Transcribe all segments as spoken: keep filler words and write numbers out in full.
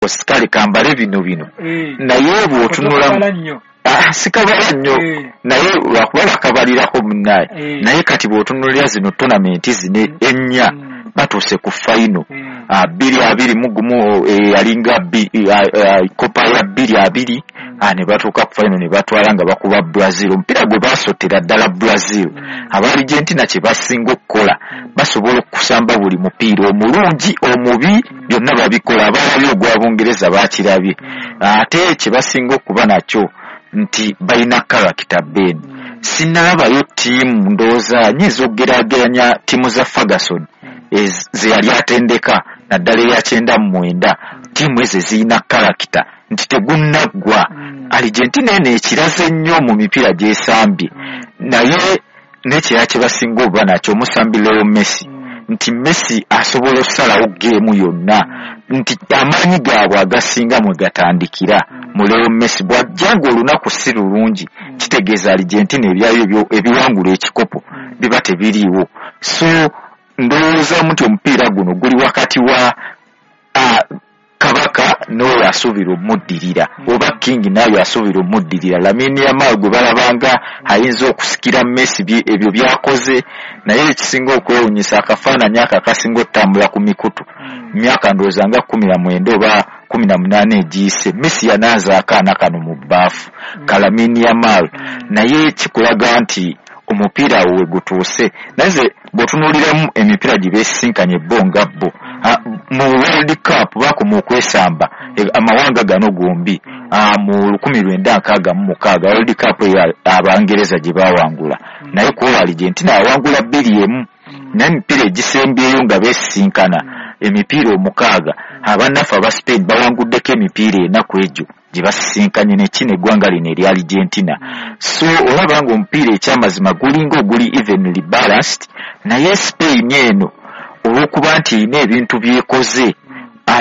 Kale kambale bino bino, naye bw'otunulamu sikabala nnyo, naye lwakuba bakabalirako munnaye. Naye kati bw'otunulira zino tournament zino ennya, batuuse ku final. Bbiri abiri mu gumu yalinga Copa ya bbiri abiri, ne batuuka ku final ne batwala nga bakuba Brazil. Omupiira gwe baasotera ddala Brazil. Aba Argentina kye basinga okukola, basobola okusamba buli mupiira, omulungi, omubi, byonna babikola. Abalabye ogwa Bungereza bakirabye. Ate kye basinga okuba nakyo nti balina character. Ben, sinnalabayo ttiimu, ndowooza nyinza okugeraageranya ttiimu za Ferguson ze yali atendeka, naddala eya kyenda mu mwenda. Ttiimu ezo ezirina character nti tegunnaggwa. Argentina eno ekiraze nnyo mu mipiira gy'esambye. Naye n'ekirala kye basinga oba nakyo, omusambi Leo Messi, nti Messi asobola okusalawo game yonna, nti amaanyi gaabwe agasinga mwe gatandikira mu Leo Messi. Bw'ajja nga olunaku si lulungi, kitegeeza Argentina ebyayo ebiwangula ekikopo biba tebiriiwo. So ndowoozamu nti omupiira guno guli wakati wa kabaka n'oyo asuubira omuddirira, oba king n'ayo asuubira omuddirira, Lamine Yamal gwe balabanga ayinza okusikira Messi ebyo byakoze. Naye ekisinga okwewunyisa, akafaananyi ako akasinga okutambula ku mikutu, myaka ndowooza nga kumi na mwenda oba kumi na munaana egiyise, Messi yanaaza akaana kano mu bbaafu ka Lamine Yamal. Naye kikulaga nti omupiira awo we gutuuse. Naye ze bw'otunuuliramu emipiira gye beesisinkanye bo nga bo mu World Cup, bakoma okwesamba amawanga gano gombi mu lukumi lwenda nkaaga mu mukaaga, World Cup eyo Abangereza gye baawangula. Naye ku olwo Argentina yawangula bbiri emu. Naye emipiira egisembyeyo nga beesisinkana, emipiira omukaaga, abannaffe aba Spain bawanguddeko emipiira enaku egyo gye basisinkanye nekino eggwanga lino erya Argentina. So olaba nga omupiira ekyamazima gulinga oguli evenly balanced. Naye Spain eno, olw'okuba nti erina ebintu byekoze,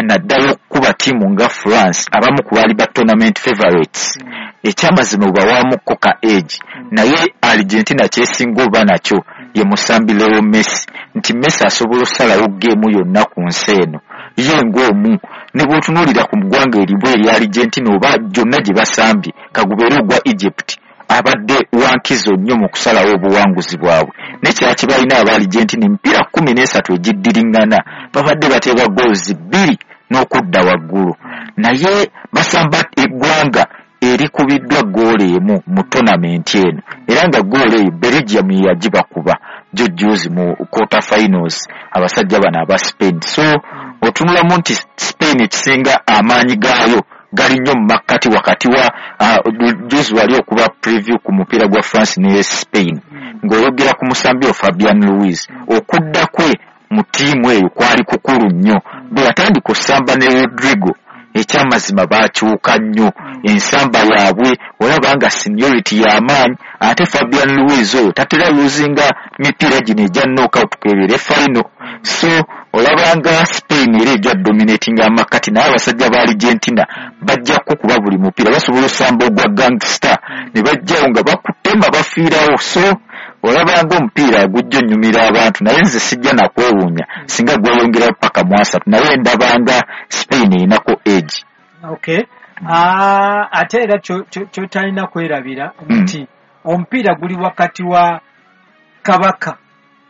naddala okukuba ttiimu nga France, abamu ku baali ba tournament favorites, ekyamazima bwebawamukko ka edge. Naye Argentina kyesinga oba nakyo ye musambi Leo Messi, nti Messi asobola okusalawo game yonna ku nsi eno ye ng'omu. Ne bw'otunuulira ku ggwanga eribwa erya Argentina oba gyonna gye basambye, kagubeere ogwa Egypt, abadde wankizo nnyo mu kusalawo obuwanguzi bwabwe. Nekirala kye balina aba Argentina, emipiira kkumi n'esatu egiddiriŋŋana babadde bateeba goals bbiri n'okudda waggulu. Naye basamba eggwanga erikubiddwa goolo emu mu tournament eno, era nga goolo eyo Belgium ye yagibakuba jo juzi mu quarter finals, abasajja bano aba Spain. So otunulamu nti Spain ekisinga amaanyi gaayo gali nnyo mu makkati wakati wa juzi wali okuba preview ku mupiira gwa France ne Spain, ng'oyogera ku musambi o Fabian Ruiz. Okudda kwe mu ttiimu eyo kwali kukulu nnyo. Bwe yatandika osamba ne Rodrigo, ekyamazima baakyuka nnyo ensamba yaabwe. Olaba nga seniority y'amaanyi. Ate Fabian Ruiz oyo tatera luzinga mipiira gino egya knockout kebeere final. So olaba nga Spain era ejja dominating amakati, naye abasajja ba Argentina bajja kukuba buli mupiira. Basobola osamba ogwa gangster ne bajjawo nga bakutema bafiirawo. So olaba nga omupiira gujja onyumira abantu, naye nze sijja nakwewuunya singa gweyongerayo paka mu asatu. Naye ndabanga Spain erinako edge. Okay, uh, ate era kyotalina kwerabira mm. nti omupiira guli wakati wa kabaka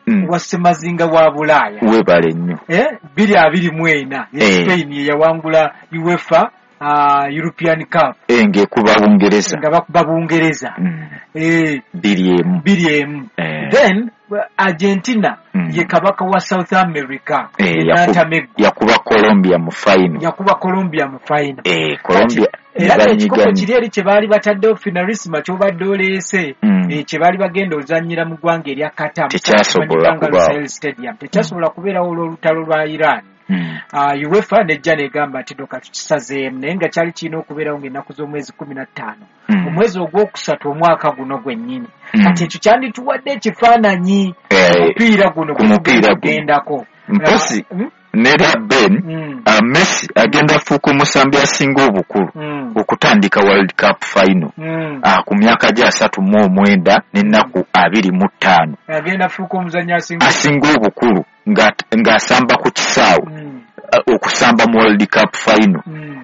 mm. wa semazinga wa Bulaaya. Webale nnyo. Eh, bbiri abiri mu ena eh. Spain yeyawangula UEFA uh, European Cup. Eh, ng'ekuba Bungereza. Nga bakuba Bungereza. mm. eh, bbiri emu. Bbiri emu. eh. Then Argentina mm. ye kabaka wa South America. eh, yakuba Colombia mu final. Yakuba Colombia mu final. eh, Colombia. Era ekikopo kiri eri kye baali bataddewo, finalissima kyobadde oleese, mm. eh, kye baali bagenda ozannyira mu ggwanga erya Qatar, tekyasobola kubaawo. Stadium tekyasobola kubeerawo olw'olutalo lwa Iran. Mm. uh, UEFA nejja negamba nti doka tukisazeemu, naye nga kyali kirina okubeerawo ng'ennaku z'omwezi kumi na ttaano mm. omwezi ogwokusatu omwaka guno gwennyini. mm. Kati ekyo kyandituwadde ekifaananyi Eh, omupiira guno ku mupiira guno. Gugendako. Mpozi Mm? Nera Ben, Mm. uh, Messi agenda afuuka omusambi asinga obukulu Mm. okutandika World Cup final Mm. uh, ku myaka gye asatu mu omwenda n'ennaku abiri mu ttaano. Agenda afuuka omuzannyi asinga Asinga obukulu nga- ng'asamba ku kisaawe, Mm. uh, okusamba mu World Cup final. Mm.